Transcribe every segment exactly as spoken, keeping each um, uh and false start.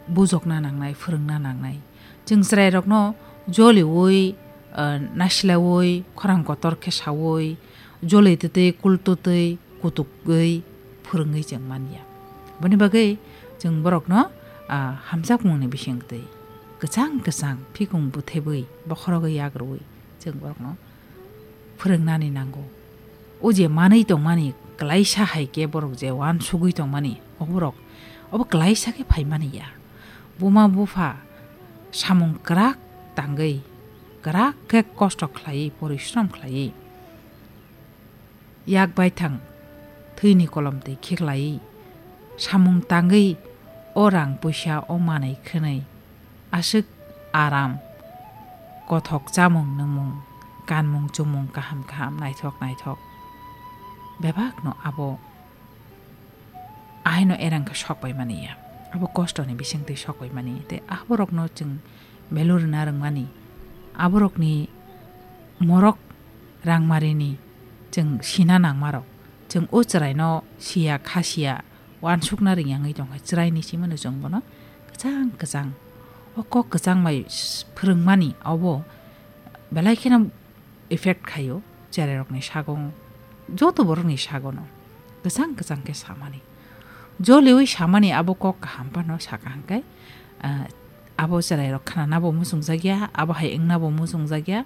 bujokna nangnai, phwrwngna nangnai. Chwng chwrairokno joliui, ah, nasilaui, khorang kotor khe saui, joli twtwi, kul twtwi, kutugwi phwrwngwi chwng man ya. Boni bagwi chwng borokno, ah, hamjakmungni bisingtwi kwchang kwchang phikung buthebwi, bokhorogwi yagrwi chwng borokno phwrwngnani nango. O je manwi tongmani, klaisa hai khe borok je uansugwi tongmani, o borok obo klaisa khe phaimani ya. Buma bupha samung kwrak tangwi, kwrak khe kosto khlaiwi, porishrom khlaiwi, yak baithang thwini kolom twi khiklaiwi, samung tangwi o rang puisa o manwi khwnwi aswk aram, kothok chamung nwngmung, kanmung chumung kaham kaham, naithok naithok bebakno abo ahaino erang khe sok pai mani ya. Abo kostoni bisingtwi sok pai mani. Tei aborokno chwng value rwna rwngmani. Aborokni morok rangmarini chwng sina nangmarok. Chwng o chwraino siya, kha siya, uansukna rwngya wngwi tongkha. Chwraini simano chwng bono kwchang kwchang, o kok kwchang bai s-, phwrwngmani abo belai kheno effect khaio chwrairokni sago, joto borokni sagono kwchang kwchang khe samani. Joliui samani abo kok kaham phano saka hwnkhe, ah, abo chwrairok khnanabo muchungjakya, abo hai wngnabo muchungjakya,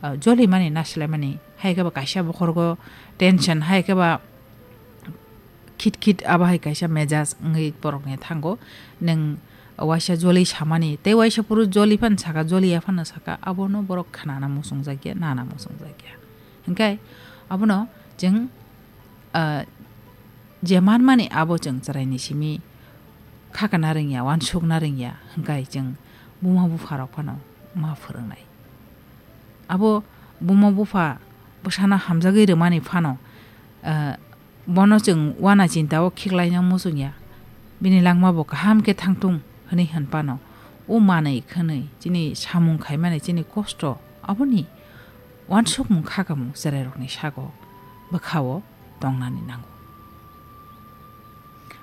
ah, jolimani nasilaimani, hai khe ba kaisa bokhorgo tension, hai khe ba khit khit abo hai kaisa mejaj wngwi borokni thango. Nwng waisa joli samani, tei waisa phuru joli phano saka, joli ya phano saka, abono borok khnana muchungjakya, nana muchungjakya. Hwnkhe abono chwng, ah, je manmani abo chwng chwraini simi khakana rwngya, uansukna rwngya, hwnkhe chwng buma bupharok phano ma phwrwngnai. Abo buma bupha bwsano hamjagwi rwmani phano, ah, bono chwng uana chinta o khiklaina muchungya, bini langma bo kaham khe thangthung hwnwi hwn phano, o manwi khwnwi chini samung khaimani chini kosto aboni uansukmung khakamung chwrairokni sago bwkhao tongnani nango.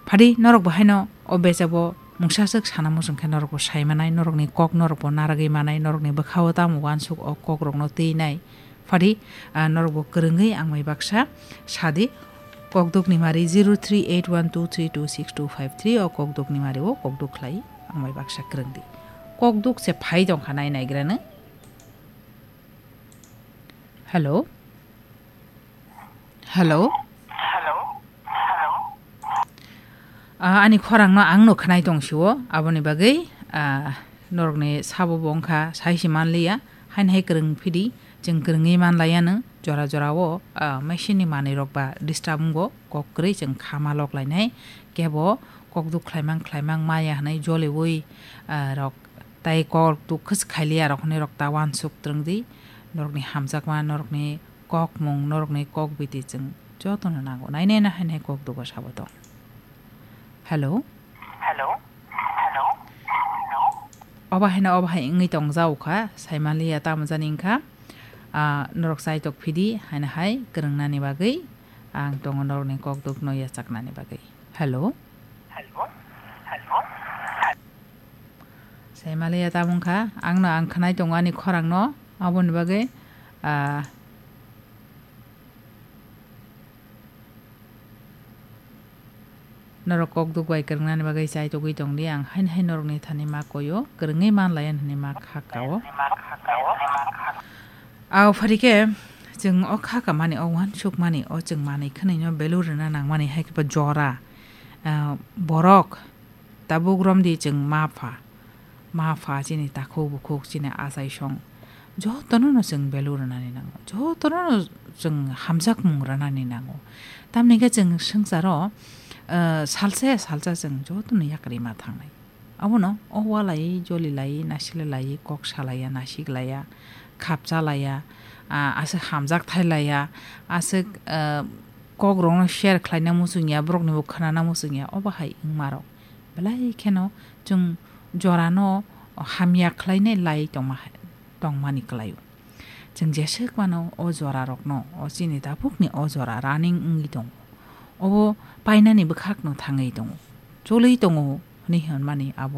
Phadi norok bo haino o bejabo mungsa swk sana muchung khe norok bo sai manai, norokni kok norok bo naragwi manai, norokni bwkhao tamo uansuk o kokrokno twinai. Phadi, ah, norok bo kwrwngwi ang bai baksa sadi, kokdukni mari zero three eight one two three two six two five three, o kokdukni mari o kokduk khlai ang bai baksa kwrwng di. Kokduk se phai tongkha nai naigrano. Hello? Hello? Ah, ani khorangno ang no khnai tong sio, aboni bagwi, ah, norokni sabo bo wngkha, sai se manliya, haino hai kwrwng phidi, chwng kwrwngwi manlaiya nw, jora jora o, ah, machine ni manwi rok ba disturb wngo, kok kwrwi chwng kha ma lok lainai, kebo kok duk khlaimang khlaimang maya hwnwi joliui, ah, rok tai kok duk khwswk khailiya rok hwnwi rok ta uansuk twrwng di, norokni hamjakma, norokni kokmung, norokni kok biti chwng jotono nango. Nai nai na hai nai kok dugo sabo tong. Hello? Hello? Hello? Obo haino obo hai wngwi tong jao kha, saimaliya tamo jani wngkha. Ah, norok chai tok phidi, haino hai kwrwngnani bagwi ang tongo norokni kok dukno yachaknani bagwi. Hello? Hello? Hello? Saimaliya tamo wngkha, ang no ang khnai tongo ani khorang no, aboni bagwi, ah, norok kok duk bai kwrwngnani bagwi chai togwi tong di, ang haino hai norokni thani ma koi o, kwrwngwi man lai hwnwi ma kha ka o. Aw phari khe, chwng o kha ka mani, o uansuk mani, o chwng manwi khwnwi no value rwna nang mani, hai khe bo jora, ah, borok, tabuk romdi chwng ma pha, ma pha chini takhuk bukhuk chini achai song jotono no chwng value rwnani nango, jotono no chwng hamjakmung rwnani nango. Tamni khe chwng swngcharo, eh, salsa ya salsa chwng jotono yakarwi ma thangnai. Abono o walai, joli lai, nasile lai, kok salaiya, nasik laiya, khapcha laiya, ah, aswk hamjak thai laiya, aswk, eh, kok rokno share khlaina muchungya, borokni bo khwnana muchungya, obo hai wngma rok. Belai kheno chwng jorano hamya khlainai lai tongma hai, tongmani kwlaio. Chwng jeswk mano o jora rokno, o chini tabukni o jora running wngwi tongo. Obo painani bwkhakno thangwi tongo. Cholwi tongo hwnwi hwnmani abo